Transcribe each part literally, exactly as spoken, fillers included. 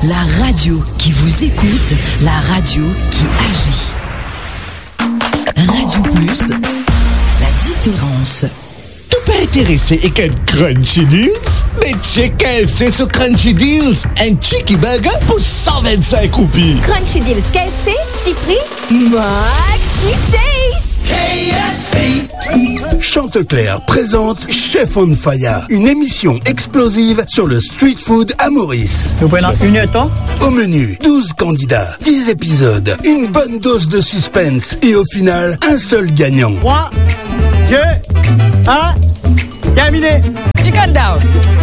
La radio qui vous écoute, la radio qui agit. Radio Plus, la différence. Tou pa interese ek enn Crunchy Deals? Be check K F C so Crunchy Deals, enn cheeky burger pou san vinn-sink roupi. Crunchy Deals K F C, ti pri maxi taste. K F C. Chanteclair présente Chef on Fire, une émission explosive sur le street food à Maurice. Nous prenons une heure de temps. Au menu, douze candidats, dix épisodes, une bonne dose de suspense et au final, un seul gagnant. Trois, deux, un, terminé. Chicken down.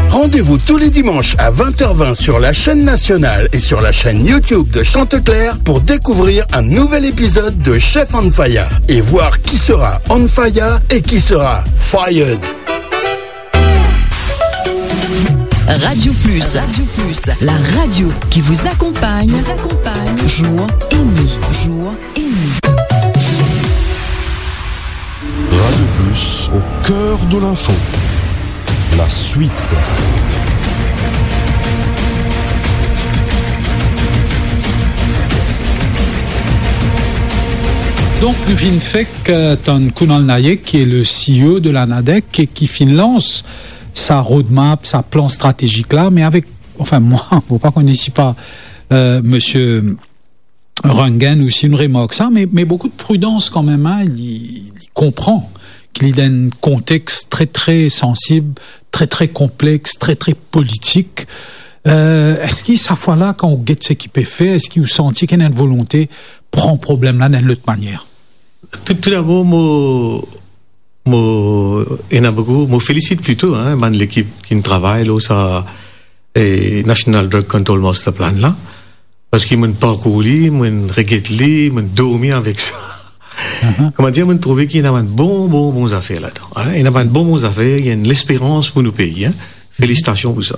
Rendez-vous tous les dimanches à vingt heures vingt sur la chaîne nationale et sur la chaîne YouTube de Chanteclair pour découvrir un nouvel épisode de Chef on Fire et voir qui sera on fire et qui sera fired. Radio Plus. Radio Plus, la radio qui vous accompagne, vous accompagne jour et nuit, jour et nuit. Radio Plus, au cœur de l'info. La suite. Donk, nou finn fek, euh, tann Kunal Nayak, ki e le C E O de la NADEC, e ki finn lans sa roadmap, sa plan stratezik la, me avek, anfin, mwa, mo pa kone si pa, euh, misie Rangan osi inn remark sa, me, me boukou de pridans kanmem, hein, li, li konpran ki li dan enn kontex tre, tre sansib, tre, tre konplex, tre, tre politik. Euh, eski sa fwa la, kan ou get seki pe fer, eski ou santi ki ena enn volonte pran problem la dan enn lot manier? Tou, tou dabor, mo, mo, ena boukou, mo felisit plito, hein, bann lekip ki'nn travay lor sa, eh, National Drug Control Master Plan la. Parski mo'nn parkour li, mo'nn reget li, mo'nn dormi avek sa. Mhm. Kouma dir, mo'nn trouve ki ena bann bon, bon, bon zafer ladan, hein. Ena bann bon, bon zafer, ena enn lesperans pou nou pei, hein. Felisitasion pou sa.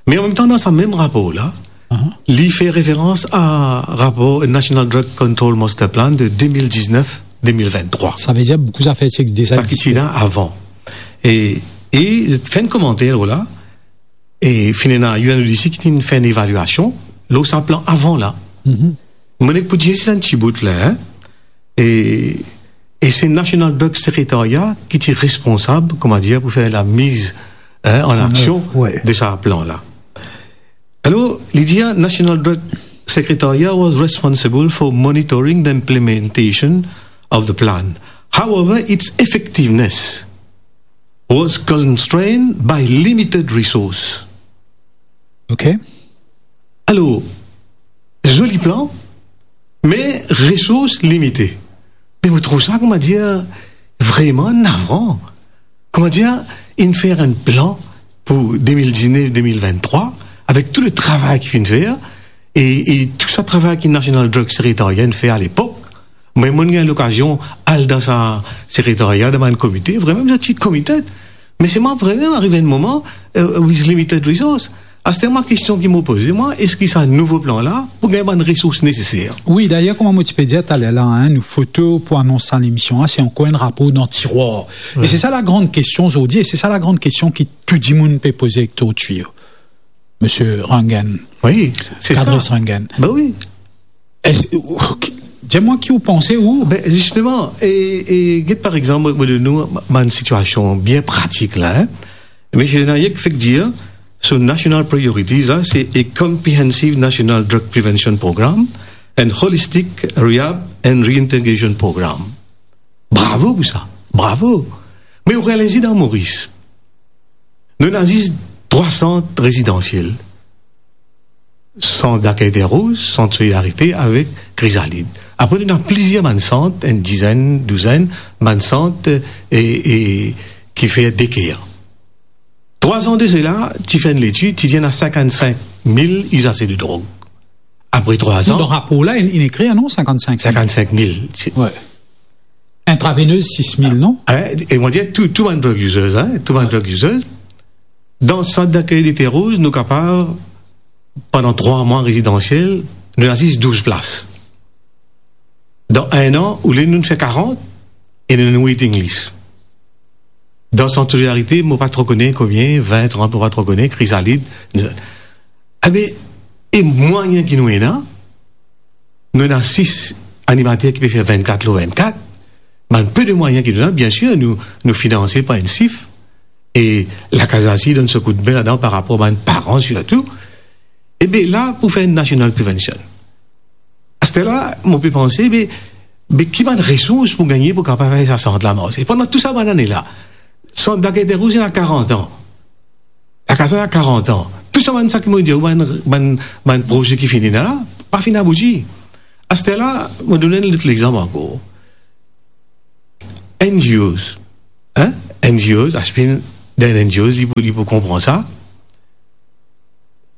Me anmemtan, dan sa mem rapor la, mhm, li fer referans a rapor National Drug Control Master Plan de de mil diznef, de mil venntrwa. Savedir boukou zafer ti existe deza. Sa ki ti la avan. E, e fer enn komanter lor la, e finn ena U N O D C ki finn fer enn evalyasion lor sa plan avan la. Mhm. Mo nek pou dir zis enn ti bout la, hein. E, e se National Drug Secretariat ki ti responsab, kouma dir, pou fer lamiz, hein, an aksion, ouais, de sa plan la. Alor, li dir, National Drug Secretariat was responsible for monitoring the implementation of the plan. However, its effectiveness was constrained by limited resource. Ok. Alor, zoli plan, me resours limite. Me mo trouv sa, kouma dir, vreman navran. Kouma dir, inn fer enn plan pou de mil diznef, de mil venntrwa, avek tou le travay ki finn fer, e, e tou sa travay ki National Drug Secretariat inn fer alepok, mwa, mo'nn gagn lokazion al dan sa sekretaria, dan bann komite, vreman, zot ti komite. Me selman vreman ariv enn moman, euh, with limited resource. Aster mwa, kestion ki mo poze mwa, eski sa nouvo plan la pou gagn bann resours neseser? Wi, dayer, kouma mo ti pe dir taler la, hein, nou foto pou anons sa lemision la, se ankor enn rapor dan tirwar. E se sa lagran kestion zordi, e se sa lagran kestion ki tou dimoun pe poze ek tortir. Misie Rangan. Wi, se, se sa. Kadris Rangan. Ben wi. Es, ok, dir mwa ki ou panse, ou? Ben, zisteman, e, e get par exanp, mo, mo donn ou bann sitiasion bien pratik la, hein. Misie Nayak fek dir, so national priorities la, se a comprehensive national drug prevention program and holistic rehab and reintegration program. Bravo pou sa, bravo. Me ou realize dan Moris, nou ena zis trwa sant rezidansiel. Sant Dakey Terre Rose, Sant Solidarite avek Krizalid. Apre, nou ena plizier bann sant, enn dizenn, douzenn, bann sant, e, e, ki fer daycare. Trwa an de sela, ti fer enn letid, ti dir ena sinkant-sink mil izaze de drog. Apre trwa an. Non, dan rapor la, inn, inn ekrir, non, sinkant-sink mil. Sinkant-sink mil. Ti- Ouais. Intravenez, sis mil, non? Hein, e mo dir, tou, tou bann drug users, hein, tou bann drug users. Dan Sant Dakey de Terre Rose, nou kapav, pandan trwa mwa rezidansiel, nou ena zis douz plas. Dan enn an, oule nou fer karant, e nou ena waiting list. Dan Sant Solidarite, mo pa tro kone konbien, vin, trant, mo pa tro kone, Krizalid, nou, abe, E mwayin ki nou ena, nou ena sis animater ki pe fer vennkat lor vennkat. Bann pe de mwayin ki nou ena, biensir, nou, nou finanse par enn sif. E Lakaz Lasil donn so koudme ladan par rapor bann paran sirtou. Ebe la, pou fer enn national prevention. Aster la, mo pe panse, be, be ki bann resours pou gagne pou kapav fer sa sant la marse? Pandan tou sa bann ane la, sant Dakar Terre Rouge ena karant an. Lakaz la ena karant an. Tou sa bann sa ki mo dir, bann, bann, bann proze ki finn ena la, pa finn abouti. Aster la, mo donn enn lot lexanp ankor. N G Os, hein? N G Os, Ashwin, dan N G Os, li pou, li pou konpran sa.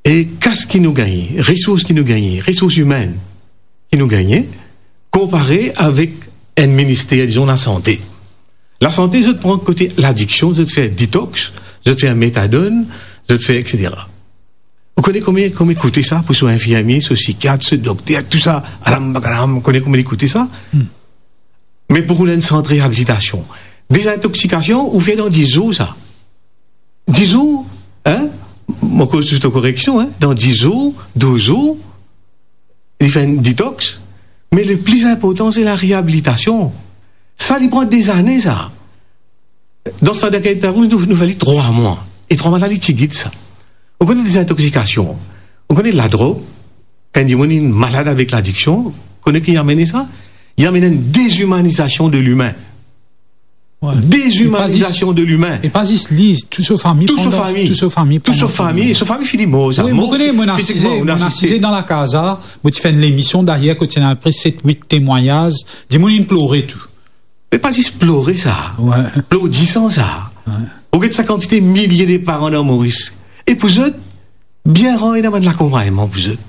E kas ki nou gagne, resours ki nou gagne, resours imenn ki nou gagne, konpare avek enn minister, dizon, lasante. Lasante, zot pran kote ladiksion, zot fer detox, zot fer metadone, zot fer et cetera. Ou kone konbien, konbien koute sa pou so infirmie, so sikiat, so dokter, tou sa, alam bakalam, ou kone konbien li koute sa? Hmm. Me pou ou enn sant reabilitasion, dezintoksikasion, ou fer dan dis zour sa. Dis zour, hein? Mo koz zis koreksion, hein? Dan dis zour, douz zour, li fer enn detox. Me le pli inportan, se lareabilitasion. Sa, li pran dezane, sa. Dan sant Dakar Terre Rouge, nou, nou fer li trwa mwa. E trwa mwa la, li ti git sa. Ou kone dezintoksikasion, ou kone ladrog, kan dimoun inn malad avek ladiksion, kone ki amenn sa? Li amenn enn dezimanizasion de limin. Wi. Dezimanizasion de limin. E pa zis li, tou so fami, tou so fami, tou so fami, tou so fami, so fami fini mor, sa. Wi, mo kone, mo inn asize, mo inn asize dan lakaz la, mo ti fer enn lemision deryer kot ti ena apre set, wit temwagnaz, dimoun inn plore tou. Me pa zis plore sa. Wi. Plor disan sa. Wi. Ou get sa kantite milie de paran dan Moris. E pou zot, bien rar ena bann lakonpagnman pou zot.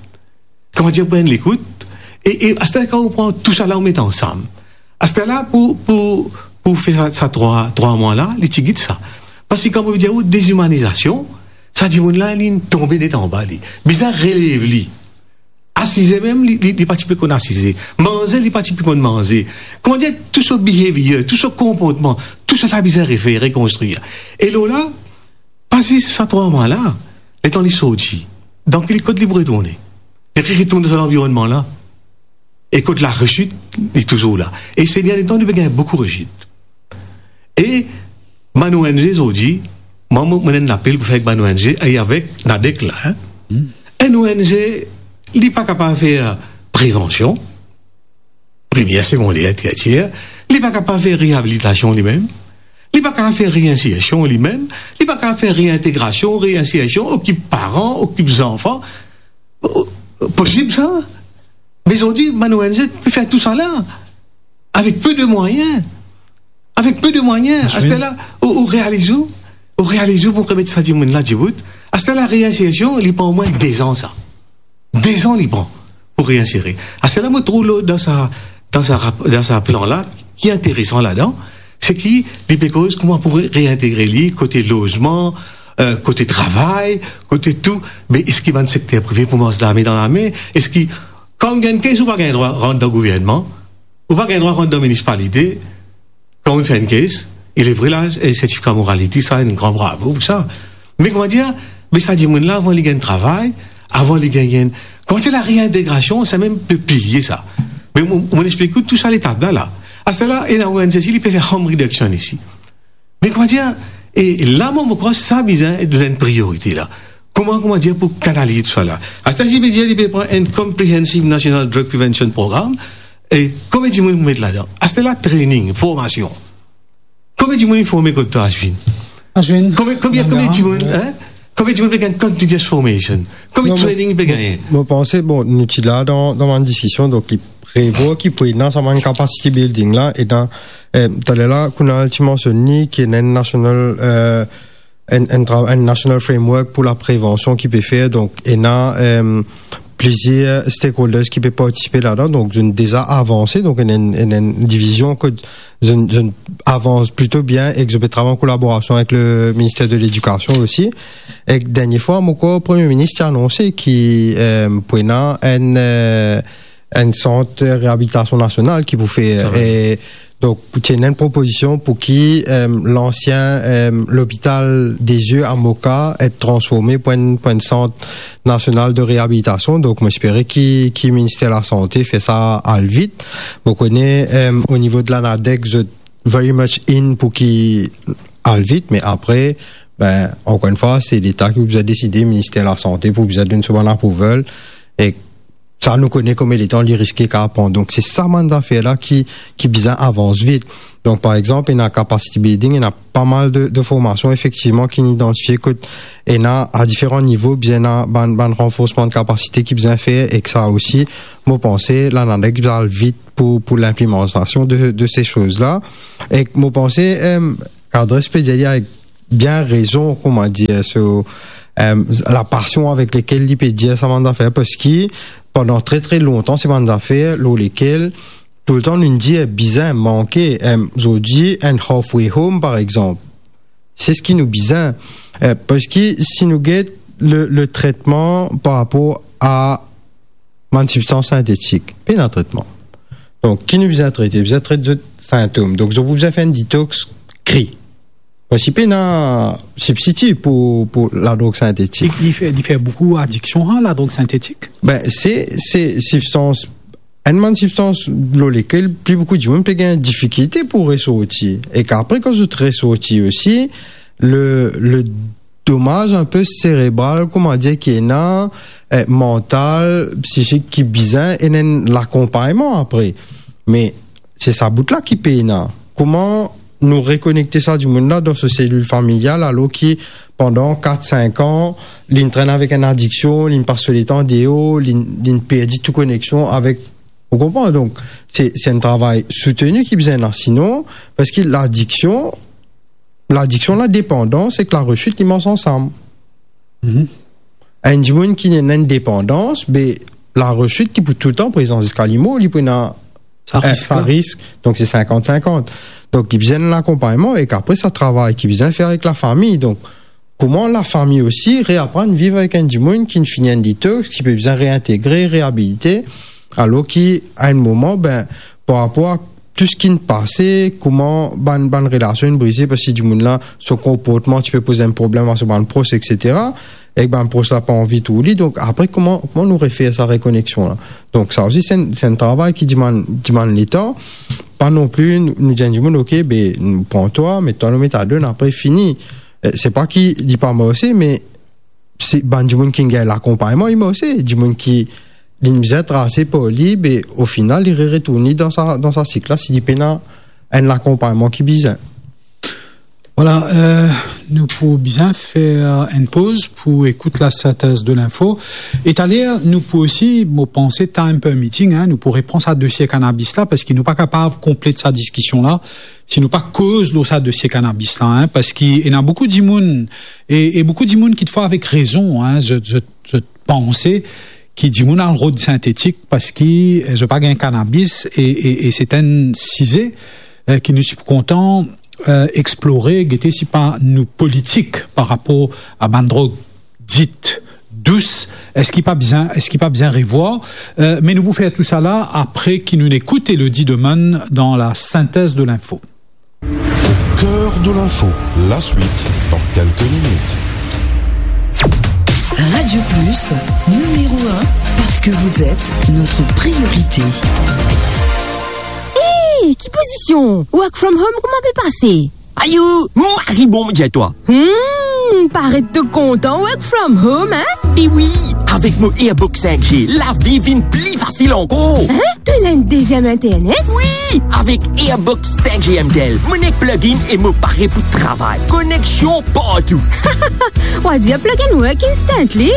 Kouma dir, pou enn lekout. E, e aster kan ou pran tou sa la, ou met ansam. Aster la, pou, pou, pou fer sa, sa trwa, trwa mwa la, li ti git sa. Parski kan mo dir ou dezimanizasion, sa dimoun la, li tonbe net anba li. Bizin relev li. Asize mem, li, li, li pa ti pe konn asize. Manze, li pa ti pe konn manze. Kouma dir, tou so behavior, tou so konportman, tou sa la bizin refer, rekonstrir. E lor la, pa zis sa trwa mwa la, letan li sorti, dan ki kot li pou retourne? Li retourn dan sa lanvironnman la. E kot laresit, li touzour la. E se dernie letan, nou pe gagn boukou resit. E bann O N G zordi, mwa, mo, mo ena enn lapel pou fer avek bann O N G e avek NADEC la, hein. Hmm. Enn O N G, li pa kapav fer prevansion, primier, segonder, tersier, li pa kapav fer reabilitasion limem, li pa kapav fer reinsersion limem, li pa kapav fer reintegrasion, reinsersion, okip paran, okip zanfan. O, posib sa? Me zordi, bann O N G pe fer tou sa la avek pe de mwayin. Avek pe de mwayin. Aster la, ou, ou realiz ou, ou realiz ou pou remet sa dimoun la dibout. Aster la, reinsersion, li pran omwin dezan sa. Dezan li pran pou reinsere. Aster la, mo trouv lor dan sa, dan sa rap-, dan sa plan la, ki interesan ladan, se ki li pe koz kouma pou re-, reintegre li kote lozman, eh, kote travay, kote tou. Me eski bann sekter prive pou mars lame dan lame? Eski, kan ou gagn enn kes, ou pa gagn drwa rant dan gouvernman, ou pa gagn drwa rant dan minisipalite, kan ou fer enn kes, il est vrai la, eh, sertifika moralite, sa, enn gran bravo pou sa. Me kouma dir, me sa dimoun la, avan li gagn travay, avan li gagn, kouma dir, lareintegrasion, sa mem pe pliye sa. Me mo, mo explik ou tou sa letap la, la. Aster la, ena enn O N G isi, li pe fer harm reduction isi. Me kouma dir, e la, mo, mo krwar sa bizin donn enn priorite la. Kouma, kouma dir, pou kanaliz tou sa la. Aster, si pe dir, li pe pran enn Comprehensive National Drug Prevention Program, e konbien dimoun pou met ladan? Aster la, training, formasion. Konbien dimoun inn forme kot twa, Ashwin? Ashwin? Konbien, konbien, konbien dimoun, hein? Konbien dimoun pe gagn continuous formation? Konbien training pe gagne? Non, mo, mo panse, bon, nou ti la dan, dan bann diskision, donk, li prevwar ki pou ena sa bann capacity building la, e dan, eh, taler la, kouma ti mansionn li, ki ena enn national, eh, enn, enn tra-, enn national framework pou laprevansion ki pe fer, donk, ena, eh, plizier stakeholders ki pe partisipe ladan, donk, zot inn deza avanse, donk, ena enn, ena enn divizion kot zot inn, zot inn avans plito bien ek zot pe travay an kolaborasion avek le minister de Ledikasion osi. Ek dernie fwa, mo krwar Premie Minis ti anonse ki, eh, pou ena enn, eh, enn sant reabilitasion nasional ki pou fer, e Donk, pou ti ena enn propozision pou ki, em, lansien, em, lopital de zie a Moka et transforme pou enn, pou enn sant nasional de reabilitasion. Donk, mo espere ki, ki Minister Lasante fer sa al vit. Mo kone, em, o nivo de Lanadec, zot very much in pou ki al vit, me apre, ben, ankor enn fwa, se Leta ki pou bizin deside, Minister Lasante pou bizin donn so bann approval, e sa nou kone kouma letan li riske kapav pran. Donk, se sa bann zafer la ki, ki bizin avans vit. Donk, par exanp, ena capacity building, ena pa mal de, de formasion, efektivman, ki inn idantifie kot ena a diferan nivo, bizin ena bann, bann ranforsman de kapasite ki bizin fer, ek sa osi, mo panse, Lanadec bizin al vit pou, pou linplimantasion de, de se soz la. Ek mo panse, em, Kadres pe dir li avek bien rezon, kouma dir, so, em, lapasion avek lekel li pe dir sa bann zafer, parski pandan tre, tre lontan, se bann zafer lor lekel toultan nou dir bizin manke, em, zordi, enn halfway home, par exanp. Se seki nou bizin, eh, parski si nou get le, le tretman par rapor a bann sibstans sintetik, pena tretman. Donk, ki nou bizin trete? Bizin tret zot sintom. Donk, zot pou bizin fer enn detox kri. Parski pena sibstiti pou, pou ladrog sintetik. Li, li fer, li fer boukou adiksion, hein, ladrog sintetik? Ben, se, se sibstans, enn bann sibstans lor lekel pli boukou dimoun pe gagn difikilte pou resorti. Ek apre, kan zot resorti osi, le, le domaz inpe serebral, kouma dir, ki ena, eh, mantal, psisik, ki bizin enn, enn lakonpagnman apre. Me se sa bout la ki pena. Kouma nou rekonekte sa dimoun la dan so selil familial, alor ki pandan kat, sink an, li'nn trenn avek enn adiksion, li'nn pas so letan deor, li'nn, li'nn perdi tou koneksion avek, ou konpran? Donk, se, se enn travay souteni ki bizin la. Sinon, parski ladiksion, ladiksion, ladepandans ek laresit, li mars ansam. Mhm. Enn dimoun ki ena enn depandans, be, laresit, li pou toultan prezan ziska limor, li pou ena sa, eh, risk sa la. Risk. Donk, se sinkant sinkant. Donk, li bizin lakonpagnman, ek apre, sa travay ki bizin fer avek lafami. Donk, kouma lafami osi reaprann viv avek enn dimoun ki finn fini enn detox, ki pe bizin reintegre, reabilite, alor ki, a enn moman, ben, par rapor a tou seki inn pase, kouma bann, bann relasion inn brize, parski dimoun la, so konportman ti pe poz enn problem a so bann pros, et cetera. Ek bann pros la pa anvi trouv li. Donk, apre, kouma, kouma nou refer sa rekoneksion la? Donk, sa osi, se enn, se enn travay ki dimann, dimann letan. Pa non pli, nou, nou dir enn dimoun, "Ok, be, nou pran twa, met twa lor metadone, apre fini." Eh, se pa ki li pa marse, me se bann dimoun ki gagn lakonpagnman, li marse. Dimoun ki, li bizin trase par li, be, ofinal, li re-, retourn li dan sa, dan sa sik la, si li pena enn lakonpagnman ki bizin. Vwala, eh, nou pou bizin fer enn poz pou ekout lasintez de linfo. E taler, nou pou osi, mo panse, time permitting, hein, nou pou repran sa dosie kanabis la, parski nou pa kapav konplet sa diskision la si nou pa koz lor sa dosie kanabis la, hein, parski ena boukou dimoun, e, e boukou dimoun kitfwa avek rezon, hein, zot, zot, zot panse ki dimoun al rod sintetik parski, eh, zot pa gagn kanabis, e, e, e se enn size, eh, ki nou ti pou kontan, eh, explore, gete si pa nou politik par rapor a bann drog dit dous, eski pa bizin, eski pa bizin revwar? Eh, me nou pou fer tou sa la apre ki nou ekout Elodie Demann dan lasintez de linfo. Au cœur de l'info, la suite dans quelques minutes. Radio Plus, numéro un, parce que vous êtes notre priorité. Hey, ki pozision? Work from home, kouma pe pase? Ayo, mari bon, mo dir twa. Hmm, paret to kontan work from home, hein? E wi, avek mo Airbox cinq G, lavi vinn pli fasil ankor. Hein? To ena enn deziem internet? Wi, avek Airbox cinq G M T L, mo ena plug-in e mo pare pou travay. Koneksion partou. Ou a dir plug and work instantly.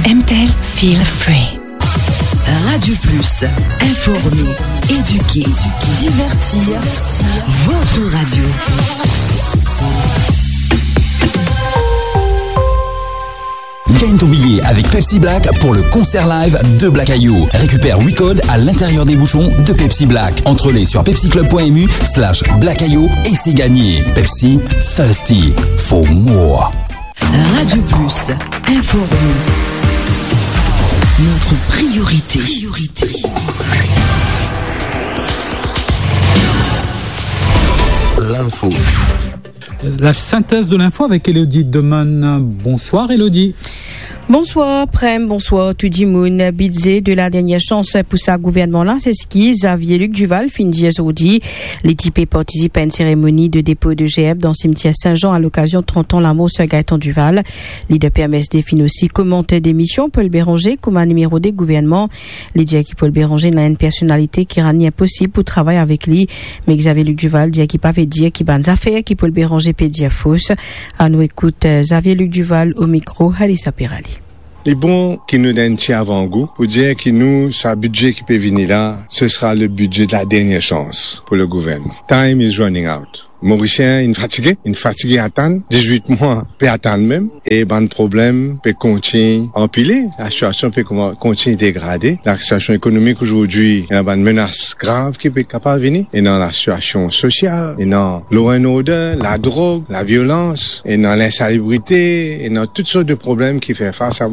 M T L, feel free. Radio Plus, informer, éduquer, divertir, votre radio. Gagne ton billet avec Pepsi Black pour le concert live de Black Ayo. Récupère huit codes à l'intérieur des bouchons de Pepsi Black. Entrée libre sur pepsi club point M U slash Black Ayo et c'est gagné. Pepsi, thirsty for more. Radio Plus, informer. Notre priorité. Priorité. Info. La synthèse de l'info avec Elodie Doman. Bonsoir Elodie. Bonsoir Prem, bonsoir tou dimoun. Bidze de la dernière chance pou sa gouvernman la, se seki Xavier Luc Duval finn dir zordi. Li ti pe partisip a enn seremoni de depo de gerbe dan simtier Saint-Jean a lokazion trant an lamor Sir Gaëtan Duval. Lider P M S D finn osi komante demision Paul Bérenger kouma nimero de gouvernman. Li dir ki Paul Bérenger ena enn personalite ki rann li inposib pou travay avek li. Me Xavier Luc Duval dir ki pa ve dir ki bann zafer ki Paul Bérenger pe dir fos. Anou ekout, eh, Xavier Luc Duval o mikro Halisa Perali. Li bon ki nou donn enn ti avangou pou dir ki nou, sa bidze ki pe vini la, ce sera le budget de la dernière chance pour le gouvernement. Time is running out. Morisien inn fatige, inn fatige atann, dizwit mwa pe atann mem, e bann problem pe kontign anpile, lasitiasion pe kouma-, kontign degrade, lasitiasion ekonomik azordi, ena bann menas grav ki pe kapav vini, ena lasitiasion sosial, ena law and order, ladrog, laviolans, ena linsalibrite, ena tout sort de problem ki fer fas a,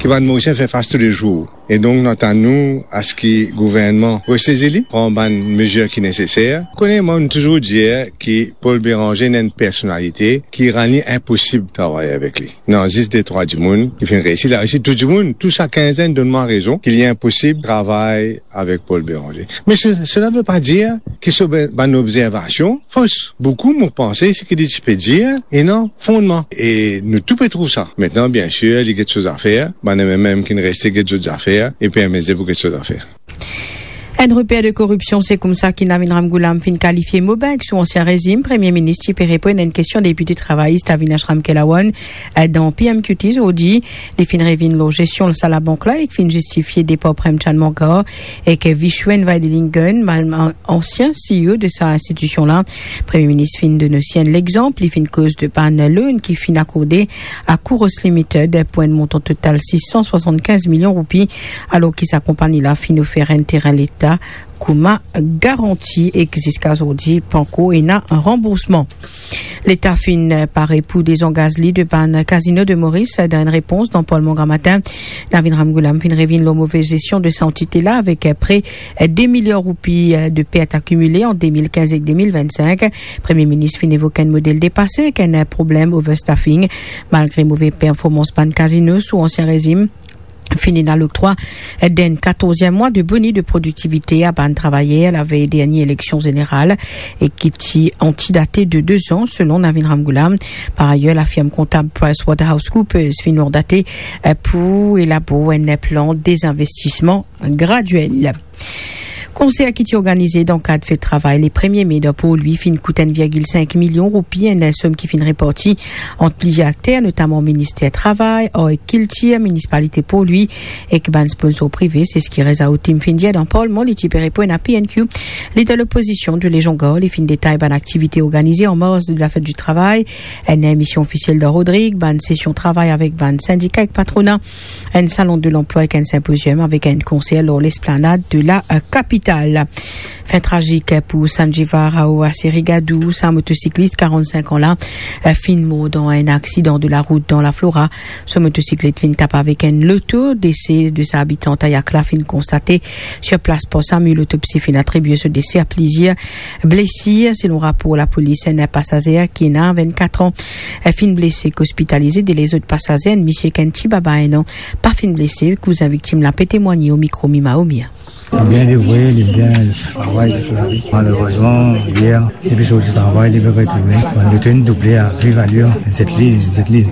ki bann Morisien fer fas toulezour. E donk, nou atann nou a se ki gouvernman resezi li, pran bann mezir ki neseser. Kone, mwa, mo touzour dir ki Paul Bérenger ena enn personalite ki rann li inposib travay avek li. Non, zis de trwa dimoun ki finn reisi, la resi tou dimoun, tou sa kinzenn donn mwa rezon ki li inposib travay avek Paul Bérenger. Me se, sela ve pa dir ki so be-, bann obzervasion fos. Boukou, mo panse, seki li ti pe dir, ena fondman. E nou tou pe trouv sa. Aster, biensir, li get so zafer, bann M M M ki reste get zot zafer, e P M S D pou get so zafer. Enn reper de koripsion, se koumsa ki Navin Ramgoolam finn kalifie Mobank sou ansien rezim. Premie Minis ti pe reponn enn kestion depite travayis Avinash Ramkalawan, eh, dan P M Q T zordi. Li finn revinn lor zestion sa labank la, ek finn zistifie depar Prem Chand Mangar ek Vishwen Vaidilingam, mal-, ansien C E O de sa institision la. Premie Minis finn donn osi enn lexanp, li finn koz de bann loan ki finn akorde a Kouros Limited pou enn montan total sis san swasannkinz milion roupi, alor ki sa konpagni la finn ofer enn terin Leta kouma garanti, ek ziska zordi pankor ena ranboursman. Leta finn pare pou dezangaz li de bann kazino de Moris dan enn repons dan Parlman gramatin. Navin Ramgoolam finn revinn lor move zestion de sa antite la avek pre de miliar roupi de pert akimile ant de mil kinz ek de mil vennsink. Premie Minis finn evok enn model depase ek enn problem overstaffing. Malgre move performans bann kazino sou ansien rezim, finn ena loktwa d'enn katorz mwa de boni de prodiktivite a bann travayer lavey dernie eleksion zeneral, e ki ti antidate de dezan, selon Navin Ramgoolam. Par ayer, lafirm kontab PricewaterhouseCoopers finn mandate, eh, pou elabor enn plan dezinvestisman gradiel. Konser ki ti organize dan kad fet travay le premie me dan Porlwi finn kout enn virgil sink milion roupi, enn som ki finn reparti ant plizier akter, notaman Minister Travay, Ar ek Kiltir, Minisipalite Porlwi ek bann sponsor prive, se seki Reza Otim finn dir dan Parlman. Li ti pe reponn a P N Q. Lider lopozision, Jules Jean-Gard, li finn detay bann aktivite organize an mars de la fet di travay, enn emision ofisiel dan Rodrig, bann sesion travay avek bann sindika ek patrona, enn salon de lanplwa ek enn sinpozium avek enn konser lor lesplanad de la, eh, kapital. Fin trazik pou Sanjeeva Rao Asirigadou, sa motosiklis karant-sink an la, eh, finn mor dan enn aksidan de larout dan Laflora. So motosiklet finn tap avek enn loto. Dese de sa abitan Tayak la finn konstate sir plas par SAMU. Lotopsi finn atribie so dese a plizier blesir. Selon rapor lapolis, enn pasazer ki ena vennkat an, eh, finn blese ek ospitalize. De lezot pasazer, enn misie ek enn ti baba enn an, pa finn blese. Kouzin viktim la pe temwagne o mikro Mima Omia. Li bien devwe, li bien travay, li bien lavi. Malerezman, yer, li pe sorti travay, li pe retourne. Bann loto inn double a viv alir, zet li, zet li.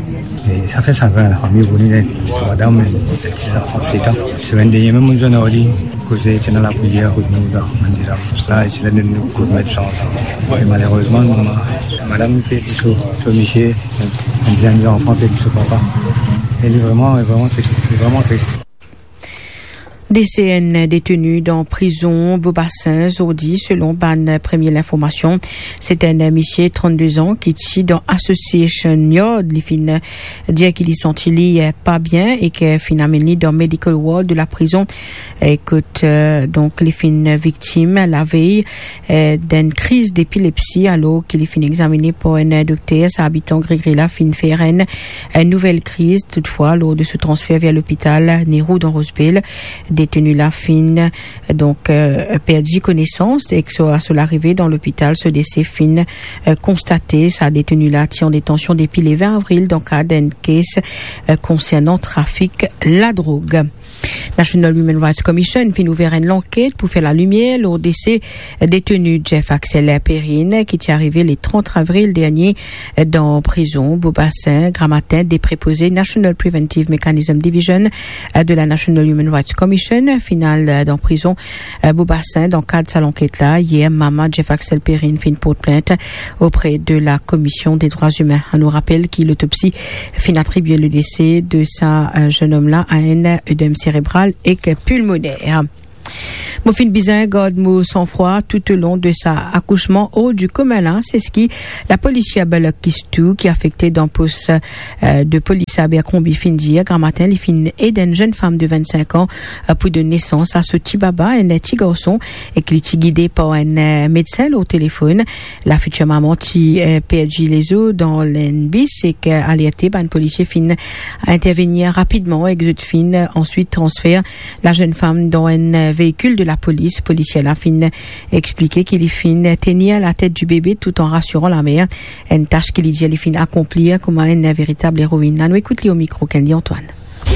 E sa fer sagrin lafami pou nou, li ena trwa dam, zet ti zanfan set an. Semenn dernie mem, mo zwenn ar li, koze ti ena lapriyer kot nou, dan bann deza. La, isi la, nou, nou kot met sa ansam. E malerezman, nou, ma-, madam perdi so, so misie, enn zenn zanfan perdi so papa. E li vreman, li vreman tris, li vreman tris. Dese enn deteni dan prizon Bobasin zordi, selon bann premie linformasion. Se enn misie trannde zan ki ti dan Association Yard. Li finn dir ki li santi li, eh, pa bien e ki finn amenn li dan medical ward de laprizon, eh, kot, eh, donk, li finn viktim lavey, eh, d'enn kriz depilepsi, alor ki li finn examine par enn dokter. Sa abitan Grigri la finn fer enn, enn nouvel kriz, toutfwa, lor de so transfer ver lopital Nehru dan Rose Bell. Deteni la finn, donk, eh, perdi konesans ek so, so larive dan lopital, so dese finn, eh, konstate. Sa deteni la ti an detansion depi le vin avril dan kad enn kes, eh, konsernan trafik ladrog. National Human Rights Commission finn ouver enn lanket pou fer lalimier lor dese deteni Jeff Axel Perrine, ki ti arive le trant avril dernie dan prizon Beau Bassin, Gramatin, dapre koze National Preventive Mechanism Division de la National Human Rights Commission. Final, dan prizon Beau Bassin, dan kad sa lanket la, yer, mama Jeff Axel Perrine finn port plint opre de la Komision de Drwa Imin. Anou rapel ki lotopsi finn atribie le dese de sa, eh, zenn om la a enn oedem serebral ek pulmoner. Mo finn bizin gard mo sanfrwa toutolong de sa akousman or di komin la, se seki lapolisie Balok Kistou, ki afekte dan pos, eh, de polis Abercrombie, finn dir. Gramatin, li finn ed enn zenn fam de vennsenk an, eh, pou donn nesans a so ti baba, enn ti garson, ek li ti gide par enn, eh, medsin lor telefonn. Lafitir mama ti, eh, perdi lezo dan enn bis ek, eh, alerte, bann polisie finn intervenir rapidman ek zot finn answit transfer lazenn fam dan enn veikil de lapolis. Polisie la finn explike ki li finn tenir latet di bebe tout an rasiran lamer, enn tas ki li dir li finn akonplir kouma enn veritab eroin. Anou ekout li o mikro Kendy Antoine.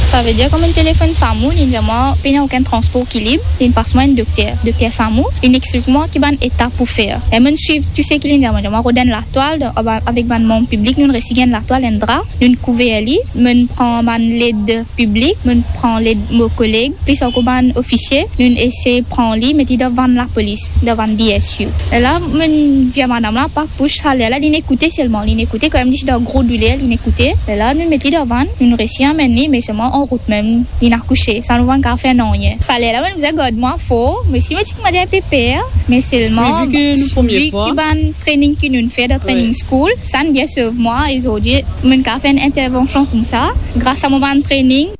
Savedir kan mo'nn telefonn Samou, li'nn dir mwa pena okenn transpor ki lib, li'nn pas mwa enn dokter, dokter Samou, li'nn explik mwa ki bann etap pou fer. E mo'nn swiv tou seki li'nn dir mwa, dir mwa rod enn latwal, dan, avek bann manm piblik, nou'nn resi gagn latwal, enn dra, nou'nn kouver li, mo'nn pran bann led piblik, mo'nn pran led mo koleg, plis ankor bann ofisie, nou'nn esey pran li, met li dan vann lapolis, dan vann D S U. E la, mo'nn dir madam la, pa pous, sa ler la, li'nn ekoute selman, li'nn ekoute, kanmem li ti dan gro douler, li'nn ekoute. E la, nou'nn met li dan vann, nou'nn resi amenn li, me selman anrout mem, li'nn akouse, sa nou pa'nn kapav fer nanye. Sa ler la, mo'nn bizin gard mwa for, me si mo ti koumadir enpe per, me selman, vi ki bann training ki nou'nn fer dan training school, sa'nn bien sov mwa, e zordi, mo'nn kapav fer enn intervansion koumsa, gras a mo bann training.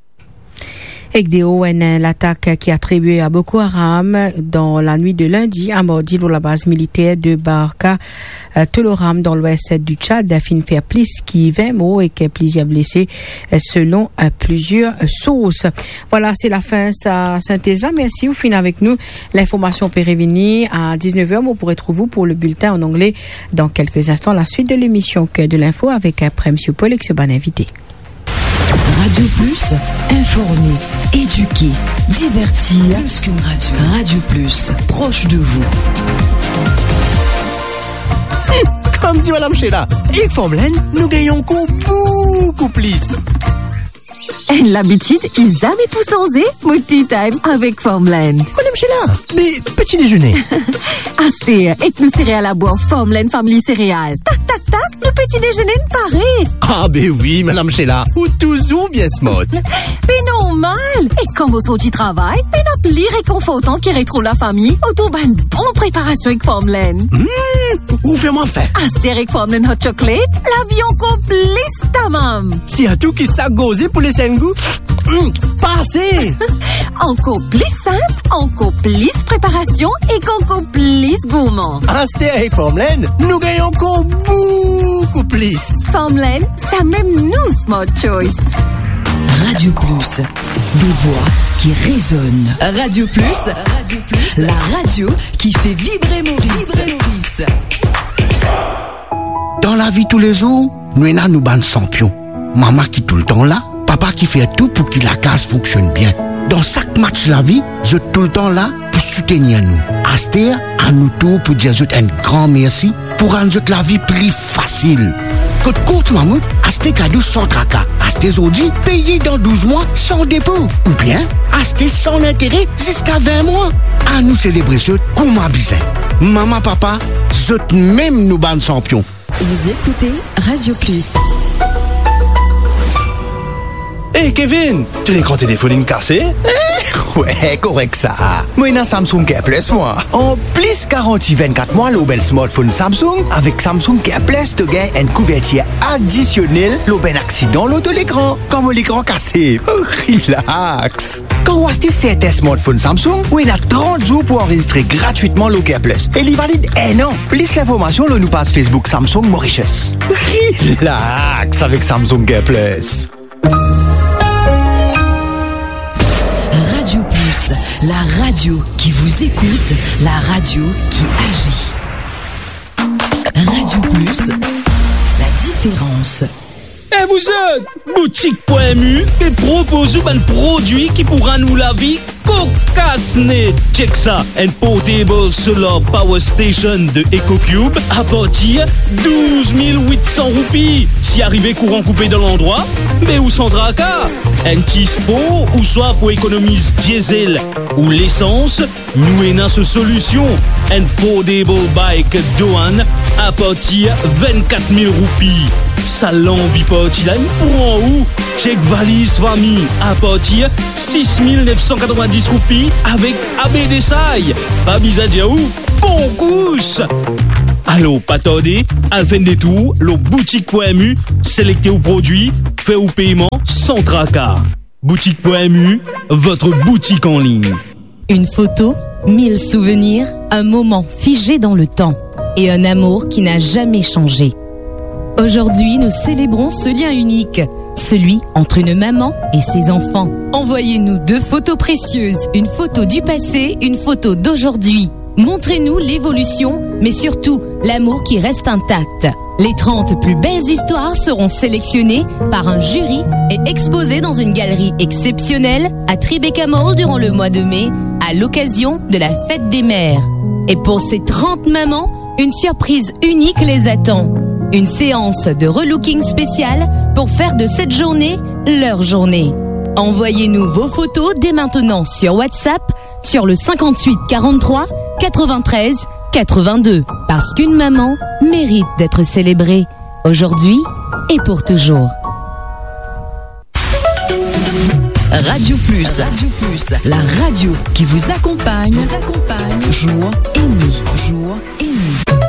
Ek deor enn latak ki atribie a Boko Haram dan lanwit de lindi a mardi lor labaz militer de Barka, eh, Toloram dan lwes di Tchad, finn fer plis ki vin mor ek plizier blese, eh, selon, eh, plizier sours. Vwala, se lafin sa sintez la. Mersi, ou finn avek nou. Linformasion pe revini a diznef er. Mo pou retrouv ou pou le biltin an angle dan kelke instan. La swit de lemision Cœur de l'info avek, eh, Prem Siopol ek so bann invite. Radio Plus, informer, éduquer, divertir. Plus qu'une radio. Radio Plus, proche de vous. Kouma dir Madam Sheila, ek Farmland, nou gagn ankor boukou plis. Enn labitid ki zame pou sanze, mo tea time avek Farmland. Madam Sheila, me peti dezene? Aster, ek nou sereal labwar Farmland Family Cereal. Tak, tak, tak, nou peti dezene pare. Ah be wi, Madam Sheila, ou touzour bien smart. Be normal. E kan mo sorti travay, pena pli rekonfortan ki retrouv lafami otour bann bon preparasion ek Farmland. Hmm, ou fer mwa fin. Aster ek Farmland Hot Chocolate, lavi ankor plis tamam. Sirtou ki sak gorze pou les enn gou. Hmm, pase. Ankor plis sinp, ankor plis preparasion ek ankor plis gourman. Aster ek Farmland, nou gagn ankor boukou plis. Farmland, samem nou smart choice. Radio Plus, des voix qui résonnent. Radio Plus, Radio Plus, la radio qui fait vibrer Maurice. Vibrer Maurice. Dan lavi toulezour, nou ena nou bann sanpion. Mama ki toultan la, papa ki fer tou pou ki lakaz fonksionn bien. Dan sak match lavi, zot toultan la pou soutenir nou. Aster, a nou tour pou dir zot enn gran mersi pou rann zot lavi pli fasil. Kot Courts Mammouth, aste kado san traka. Aste zordi, peye dan douz mwa san depo. Oubien, aste san lintere ziska vin mwa. Anou selebre zot kouma bizin. Mama, papa, zot mem nou bann sanpion. Vous écoutez Radio Plus. Hey Kevin, to lekran telefonn inn kase? Wey, korek sa. Mo ena Samsung Care Plus mwa. Anplis garanti vennkat mwa lor bann smartphone Samsung, avek Samsung Care Plus to gagn enn kouvertir adisionel lor bann aksidan lor to lekran, kan mo lekran kase. Relax. Kan ou aste sertin smartphone Samsung, ou ena trant zour pou anrezistre gratwitman lor Care Plus e li valid enn an. Plis linformasion lor nou paz Facebook Samsung Mauritius. Relax avek Samsung Care Plus. Radio Plus, La radio qui vous écoute, la radio qui agit. Radio Plus, la différence. E vouzot, Boutik Pwin Mu pe propoz ou bann prodwi ki pou rann ou lavi kokas net. Check sa, enn portable solar power station de EcoCube apartir douz mil wit san roupi. Si arive kouran koupe dan landrwa, be ou san traka. Enn ti spor ouswa pou ekonomiz diesel ou lesans, nou ena so solision, enn foldable bike Doan apartir vennkat mil roupi. Sa lanvi parti la, li pran ou. Check valiz fami apartir sis mil nef san katrevin-dis roupi avek abedesay. Pa bizin dir ou, bon kous! Alor, pa tarde, al fer enn detour lor Boutik Pwin Mu, selekte ou prodwi, fer ou peyman san traka. Boutik Pwin Mu, votre boutique en ligne. Une photo, mille souvenirs, un moment figé dans le temps et un amour qui n'a jamais changé. Aujourd'hui, nous célébrons ce lien unique, celui entre une maman et ses enfants. Envoyez-nous deux photos précieuses, une photo du passé, une photo d'aujourd'hui. Montrez-nous l'évolution, mais surtout l'amour qui reste intact. Les trente plus belles histoires seront sélectionnées par un jury et exposées dans une galerie exceptionnelle à Tribeca Mall durant le mois de mai, à l'occasion de la fête des mères. Et pour ces trente mamans, une surprise unique les attend. Une séance de relooking spéciale pour faire de cette journée leur journée. Envoyez-nous vos photos dès maintenant sur WhatsApp sur le cinquante-huit quarante-trois quatre-vingt-treize quatre-vingt-deux. Parce qu'une maman mérite d'être célébrée aujourd'hui et pour toujours. Radio Plus. Radio Plus, la radio qui vous accompagne, vous accompagne jour et nuit, jour et nuit.